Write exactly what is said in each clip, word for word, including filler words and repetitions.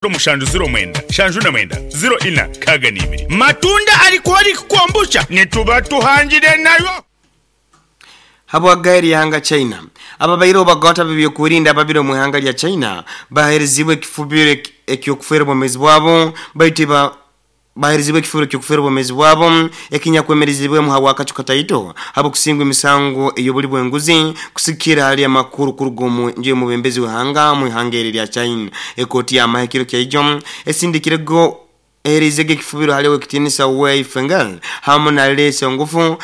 Mushanju ziro mwenda shanju na mwenda ziro ina kaga n'ibiri matunda alikuwa kukwambusha nituba tuhangire nayo. Habwa gari yanga China ababairo bagota bibyokurinda ababiro mu hanga lya China baherezibwe kifubire ekyokufera bomezi bwabo baitu ba baherezibwe kifubire ekyokufera bomezi bwabo ekinyakwemerezibwe mu hawa kacu kataito habo kusingwa imisango eyobuli bwenguzi kusikira hali ya makuru kurugomu nje mu bembezi wehanga mu hangeri lya China. Ekoti ya mahekiro kya ijom esindikirego eherezege kifubiro haliwe kitinisa Wei Fengal hamu na lese ngufu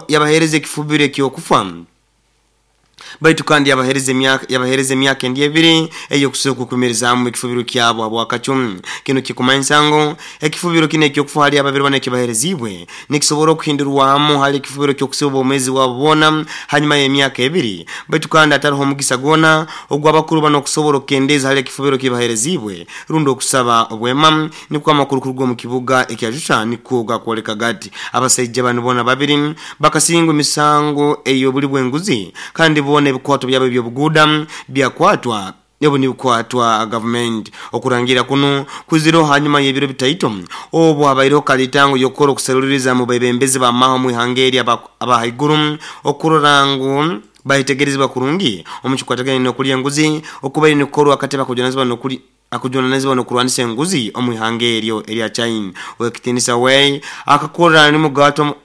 yabahereze kifubiro ekyokufa baitu kandi yabahereze emyaka yabahereze emyaka endi ebiri eyokusoka kukumirizaamu ekifubiro kyabo abwakacumi. Kino kikumanyisa ngu ekifubiro kino ekyokufa hali ababiri bana ekibaherezibwe nikisobora okuhindurwamu hali ekifubiro kyokusiba omwezi wabo boona hanyuma y'emyaka ebiri, baitu kandi atariho omugisa gwona ogw'abakuru bano okusobola okukendeza hali ekifubiro kibaherezibwe rundi okusaba obwema. Nikwo amakuru kuruga omu kibuga ekya nikwo gakwoleka gati abasaija bano boona babiri bakasingwa emisango ey'obuli bwenguzi kandi bona ebikwato byabo ebyobuguda byakwatwa yabo nibikwatwa government. Okurangira kuno kuziro hanyuma y'ebiro bitaito obwo abairo kalitango yokoro kuseruliriza mu bebembezi ba maho mu ihangeri abahaiguru okurora ngu bahitegerezwa kurungi omukikwatagana n'okulya enguzi okubaire nikorwa akateba kujonazibwa n'okuli akujonanezibwa n'okurwanisa enguzi omu ihangeri erya China. Wekitinisa Wei akakora ni mugato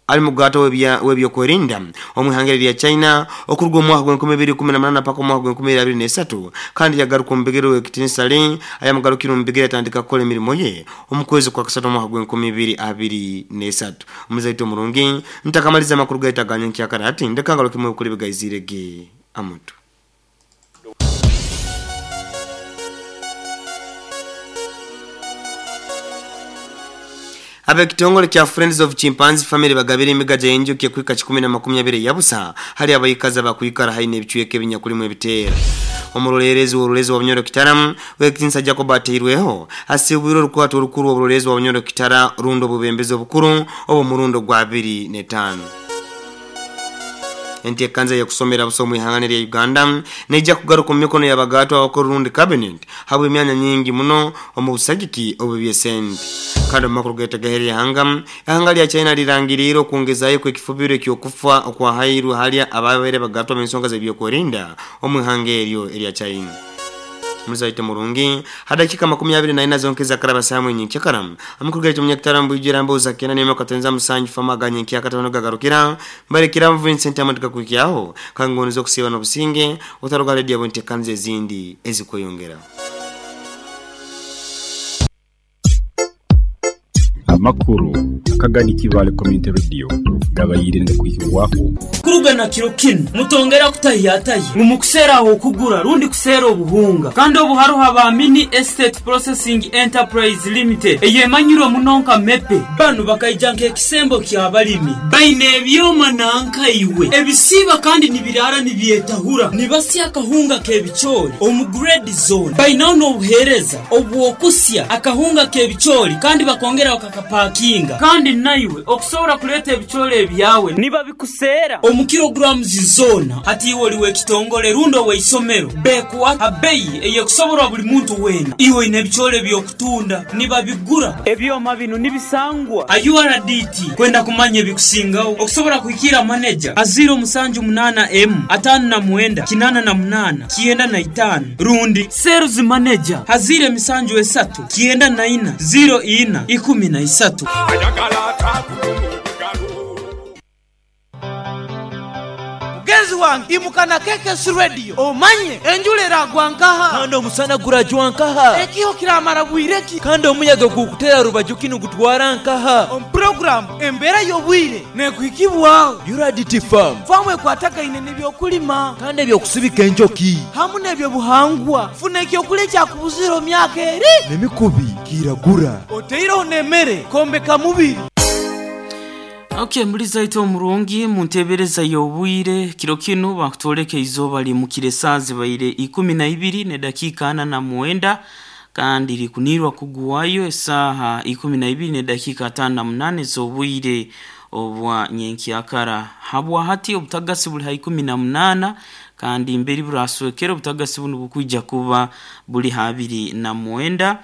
ali mugato webya webyokwerinda omuhangeri lya China okuruga omwaka gwa bibiri kumi na munana paka omwaka gwa bibiri abiri n'esatu kandi yagaruka omubigere wekitinisa Lin ayamugarukira omubigere atandika kukola emirimo ye omukwezi kwa kasatu omwaka gwa bibiri abiri n'esatu. Omuzaito omurungi ntakamaliza amakuru gaitaganya nkyakara ati ndekangalo kimwe kuli bigaizirege amutu. Abe kitongole kya Friends of Chimpanzee Family bagabira emigaja y'enjoki ekwika kikumi na makumi abiri yabusa hali abayikaza bakwikara haine ebichweke ebinyakulimu ebiteera. Omurolerezi w'orulezi wa Bunyoro Kitara wekitinsa Jacob ateirweho asibwire orukwato orukuru w'orulezi wa Bunyoro Kitara rundo bubembezi obukuru obo murundo gwa abiri n'etaano. Entekanza ya kusomera busomu ihangane lya Uganda neija kugaruka mu mikono y'abagatwa abakuru rundi cabinet habwe emyanya nyingi muno omu busagiki obubyesente. Kandi amakuru gaita gaheri hanga ihanga lya China lirangirira okwongezayo kw'ekifubiro ekyokufa okwahairwe hali ababaire bagatwa mu nsonga z'ebyokwerinda omu ihanga eryo erya China. Muzaite murungi hadakika makumi abiri na ina zonkeza karaba samu nyinki karam amakuru gaita munyakitarambu ijirambo zakena nema katenza musanju famaganye nki akatono gagarukira mbarekira Vincent amatika kukiaho kangono zo kusiba no businge utaruga radio bonte kanze zindi ezikoyongera. Amakuru akagani kibale community radio gabayire ndikuhiwako kurugana kiro kino mutongera kutahiyataye mumukusera aho kugura rundi kusera obuhunga kandi obuharuha ba Mini Estate Processing Enterprise Limited eyemanyiro munonka mepe banu bakaija nk'ekisembo kya balimi baine ebyoma nanka iwe ebisiba kandi nibirara nibyetahura nibasya akahunga k'ebichori omu grade zone bainaho n'obuhereza obwokusya akahunga k'ebichori kandi bakongera bakakapakinga kandi naiwe okusobola kuleta ebichori ebyawe niba bikusera omu kilograms zona hati iwe oliwe ekitongole rundo weisomero bekuwa abeyi eyekusoborwa buli muntu wena iwe ine ebichori byokutunda niba bigura ebyoma bino nibisangwa U R D T kwenda kumanya ebikusingaho okusobola kuhikira manager aziro musanju munana m atano na mwenda kinana na munana kienda na itano rundi sales manager hazire misanju esatu kienda na ina zero ina ikumi na isatu. Mugenzi wange imukana keke si radio omanye enjula eragwa nkaha kandi omusana gurajwa nkaha ekiho kiramara bwireki kandi omuyaga gukutera rubaju kinu gutwara nkaha omu program embera y'obwire nekuhikibwaho Uradity Farm famu ekwatagaine n'ebyokulima kandi ebyokusibika enjoki hamu n'ebyobuhangwa funa ekyokulya kyakubuzira omyaka eri n'emikubi kiragura oteireho n'emmere kombeka mubiri. Okay, muliza ito omurungi muntebereza y'obwire kiro kino bakutoleka izoba limukire saa zibaire ikumi na ibiri ne dakika ana na mwenda kandi likunirwa kuguwayo esaha ikumi na ibiri ne dakika atano na munane z'obwire obwa nyenkyakara. Habwa hati obutagasi buli ha ikumi na munana Kandi mberi buraswekera obutagasi bunu bukwija kuba buli habiri na mwenda.